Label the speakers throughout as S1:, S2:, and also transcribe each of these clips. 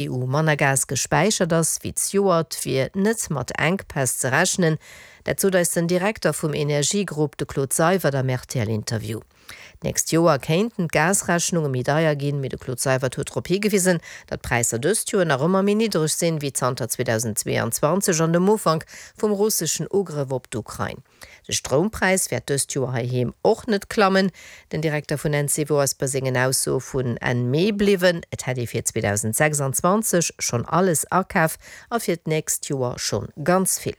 S1: EU manner Gas gespäichert ass wéi zejoert, wier net mat Enkpäss ze rechnen. Dat sot eis den Direkter vum Energiegrupp, de Claude Seywert am RTL-Interview. D'nächst Joer kéinten d'Gasrechnunge méi deier ginn, mee de Claude Seywert huet drop higewisen, datt d'Präisser dëst Joer nach ëmmer méi niddreg sinn, wéi zanter 2022 an dem Ufank vum russeschen Ugrëff op d'Ukrain. De Stroumpräis wäert dëst Joer heiheem och net klammen. Den Direkter vun Encevo ass bei sengen Aussoe vun Enn Mee bliwwen. Et hätt ee fir 2026 schonn alles akaf a fir d'nächst Joer schonn ganz vill.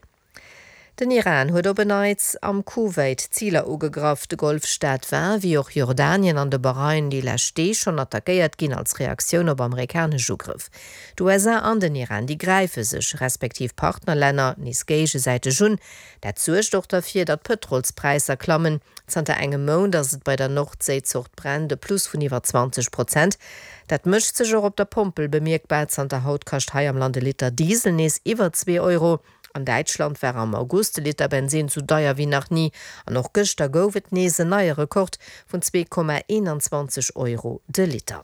S1: Den Iran huet op en Neits am Kuwait Ziler ugegraff. De Golfstaat war, wéi och Jordanien an de Bahrain, déi lescht Deeg schonn attackéiert ginn als Reaktioun op amerikanesch Ugrëff. D'USA an den Iran, déi gräife sech respektiv Partnerlänner nees géigesäiteg un. Dat suergt och derfir, datt d'Pëtrolspräisser klammen. Zanter engem Mount ass et bei der Nordséizort Brent e Plus vun iwwer 20 Prozent. Dat mécht sech och op der Pompel bemierkbar. Zanter haut kascht hei am Land e Liter Diesel nees iwwer zwee Euro. An Däitschland war am August de Liter Bensin sou deier wéi nach ni. An och gëschter gouf et nees en neie Rekord vun 2,21 Euro de Liter.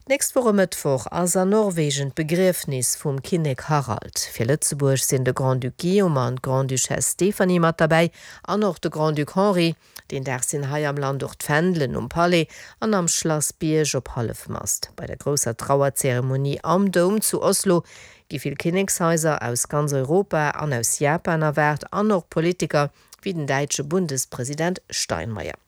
S1: D'nächst Woch e Mëttwoch ass an Norwegen d'Begriefnis vum Kinnek Harald. Fir Lëtzebuerg sinn de Grand-Duc Guillaume an d'Grande-Duchesse Stéphanie mat derbäi an och de Grand-Duc Henri. Deen Dag sinn hei am Land och d'Fändelen um Palais an am Schlass Bierg op Hallefmast. Bei der grousser Trauerzeremonie am Doum zu Oslo gi vill Kinnekshaiser aus ganz Europa an aus Japan erwaart an och Politiker wéi den däitsche Bundespresident Steinmeier.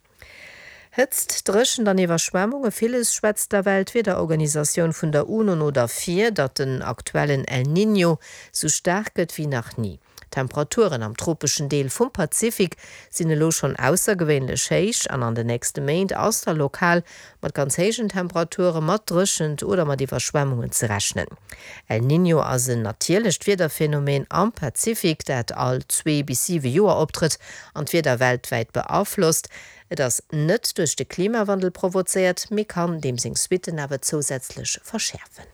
S1: Hëtzt, Dréchent an Iwwerschwemmunge, villes schwätzt der Weltwiederorganisatioun vun der UNO no derfir, datt den aktuellen El Niño sou staark gëtt wéi nach ni. D'Temperaturen am tropeschen Deel vum Pazifik sinn elo schonn aussergewéinlech héich an an de nächste Méint ass da lokal mat ganz héijen Temperature, mat Dréchent oder mat Iwwerschwemmungen ze rechnen. El Niño ass en natierlecht Wiederphenomen am Pazifik, dat all zwee bis siwe Joer optrëtt an d'Wieder weltwäit beaflosst. Et ass net duerch de Klimawandel provozéiert, mee kann deem seng Suitten awer zousätzlech verschäerfen.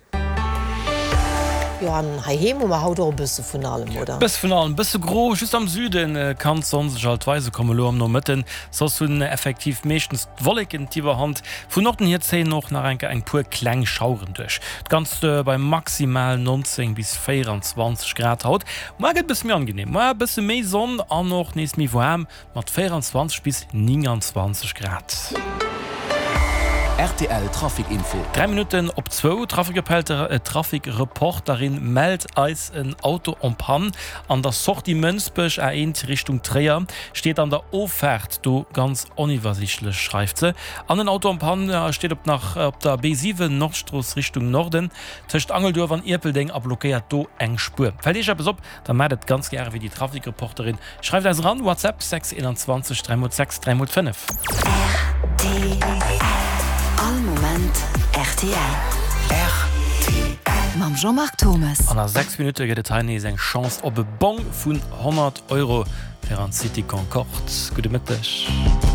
S1: Jo, an heiheem hu mer haut och e bësse vun allem, oder?
S2: Bësse vun allem, bësse gro, just am Süde kann d'Sonn sech alt weise kommen elo am Nomëtten. Soss hunn effektiv meeschtens d'Wolleken d'Iwwerhand. Vun Norden hier zéien och nach enker eng puer kleng Schaueren duerch. D'Ganzt bei maximal 19 bis 24 Grad haut. Muar gëtt e bësse méi angenehm, muar e bësse méi Sonn an och nees méi waarm. Mat 24 bis 29 Grad.
S3: Rtl Trafic Info.
S2: 3 Minutten op zwou, D'Trafic-Reporterin mellt eis en Auto en panne an der Sortie Mënsbech, A1 Richtung Tréier, steet an der Offaart do ganz oniwwersiichtlech, schreift se. An en Auto en panne steet op nach op der B7 Nordstrooss Richtung Norden tëscht Angelduerf an Ierpeldeng a blockéiert do eng Spuer. Fält Iech eppes op, da maacht et ganz gäre wéi déi Trafic-Reporterin. Schreift eis eran, WhatsApp 6 21 3 x 6 3 x 5.
S4: Rtl, All Moment rtl.
S3: Rtl.
S4: Mam Jean-Marc Thomes.
S2: An a 6 Minutte gëtt et hei nees eng Chance op e Bong vun 100 Euro fir an d'City Concorde. Gudde Mëtteg.